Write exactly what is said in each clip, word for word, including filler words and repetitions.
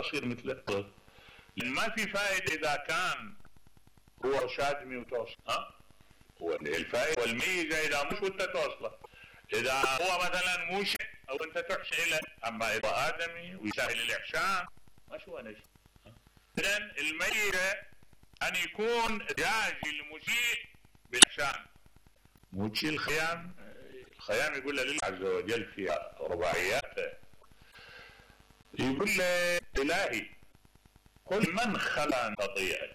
اصير مثله. ما في فائدة اذا كان هو شادمي وتوصل. ها هو الفائدة والميزة اذا مش وانت توصله. اذا هو مثلا مو شيء او انت تحشي له، اما اذا ادمي ويسهل الاحسان ما شو انا شيء. اذن الميزة ان يكون جاز المسيء بالاحسان، مو شيء الخيام. الخيام يقول له لله عز وجل في رباعياته، يقول له الهي قل من خلق خطيئة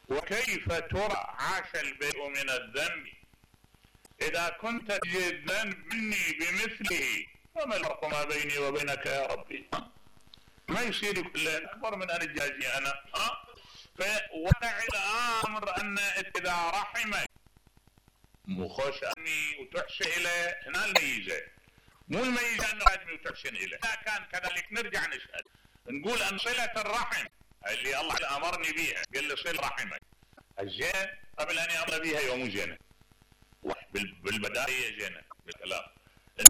وكيف ترى عاش البريء من الذنب، اذا كنت تجد الذنب مني بمثله فما الفرق ما بيني وبينك يا ربي؟ ما يصير يقول اكبر من ان اجازي انا. ها فوضع الامر ان اذا رحمك مو خوش امي وتحسن اليه، هنا الميزه، مو الميزه انه ادمي وتحسن اليه. اذا كان كذلك نرجع نسال نقول ان صله الرحم اللي الله امرني بها، قال لي صل رحمك الزين قبل ان يامر بها يوم زينه، بالبدايه زينه بالكلام.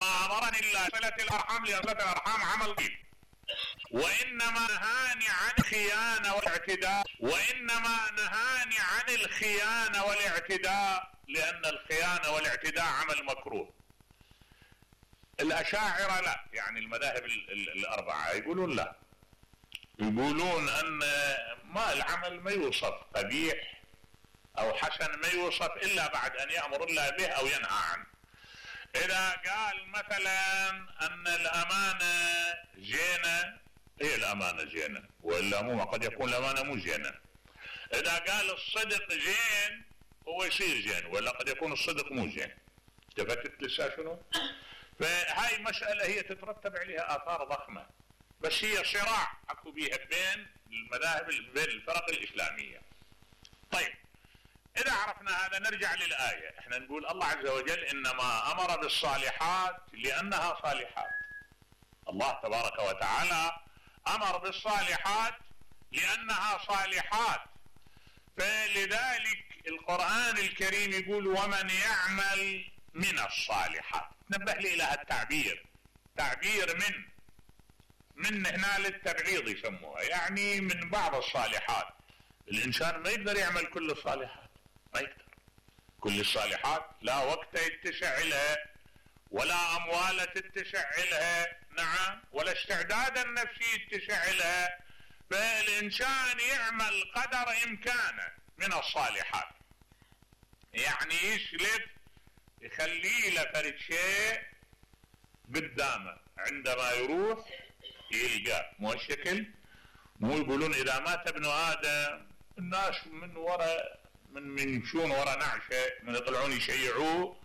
ما امرني الله صله الارحام لان صله الارحام عمل طيب، وانما نهاني عن الخيانه والاعتداء، وانما نهاني عن الخيانه والاعتداء لان الخيانه والاعتداء عمل مكروه. الاشاعره لا، يعني المذاهب الاربعه يقولون لا، يقولون ان ما العمل ما يوصف قبيح او حسن، ما يوصف الا بعد ان يامر الله به او ينهى عنه. اذا قال مثلا ان الامانه زينه، هي الامانه زينه والا مو، قد يكون الامانه مو زينه. اذا قال الصدق زين هو يصير زين، ولا قد يكون الصدق مو زين. التفتت لسه شنو؟ فهاي مساله هي تترتب عليها اثار ضخمه، بس هي صراع اكو بيها بين المذاهب بين الفرق الاسلاميه. طيب اذا عرفنا هذا نرجع للايه، احنا نقول الله عز وجل انما امر بالصالحات لانها صالحات. الله تبارك وتعالى امر بالصالحات لانها صالحات، فلذلك القرآن الكريم يقول ومن يعمل من الصالحات. نبه لي الى التعبير، تعبير من من هنا للتبعيض يسموها، يعني من بعض الصالحات. الانسان ما يقدر يعمل كل الصالحات، ما يقدر كل الصالحات، لا وقت يتسع لها ولا اموال تتسع لها، نعم، ولا استعداد النفسي يتسع لها. فالانسان يعمل قدر امكانه من الصالحات، يعني يسلف يخلي له فرد شيء قدامه عندما يروح يلقاه، مو الشكل. مو يقولون اذا مات ابن ادم الناس من وراء من من يمشون وراء نعشه، من يطلعون يشيعوه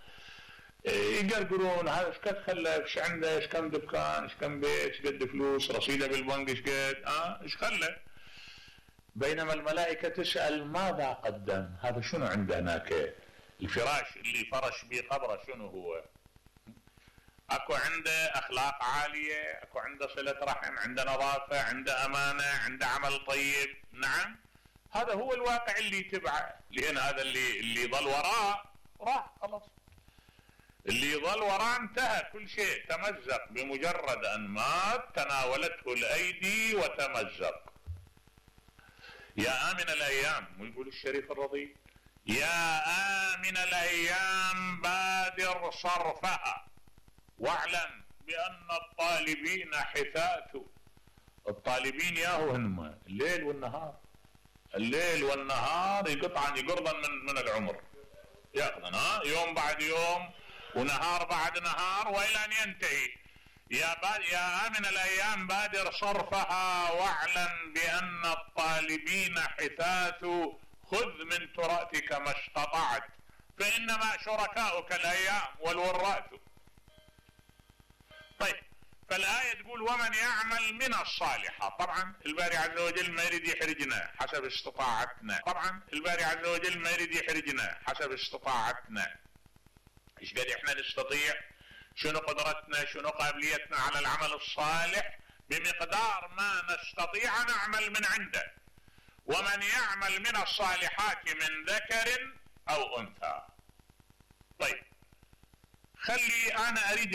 يقرقرون هذا ايش قد خلف، ايش عنده، ايش كم دكان، ايش كم بيت، ايش قد فلوس، رصيده بالبنك ايش قد، اه ايش خلف. بينما الملائكه تسال ماذا قدم، هذا شنو عنده هناك، الفراش اللي فرش به قبره شنو هو. اكو عنده اخلاق عاليه، اكو عنده صله رحم، عنده نظافه، عنده امانه، عنده عمل طيب، نعم، هذا هو الواقع اللي يتبعه. لان هذا اللي اللي ظل وراه راح خلاص، اللي ظل وراه انتهى، كل شيء تمزق بمجرد ان مات، تناولته الايدي وتمزق. يا آمن الايام، ويقول الشريف الرضي يا آمن الايام بادر صرفها واعلم بان الطالبين حثاث. الطالبين ياهو هم الليل والنهار، الليل والنهار يقطعن يقرضن من من العمر، ياخذن ها يوم بعد يوم ونهار بعد نهار والى ان ينتهي. يا يا آمن الايام بادر صرفها واعلم بان الطالبين حثاث، خذ من تراثك ما استطعت فانما شركاؤك الايام والوراث. طيب فالآية تقول ومن يعمل من الصالحات. طبعا الباري عز وجل ما يريد يحرجنا حسب استطاعتنا، طبعا الباري عز وجل ما يريد يحرجنا حسب استطاعتنا. ايش قد احنا نستطيع، شنو قدرتنا، شنو قابليتنا على العمل الصالح، بمقدار ما نستطيع نعمل من عنده. ومن يعمل من الصالحات من ذكر او انثى. طيب خلي انا اريد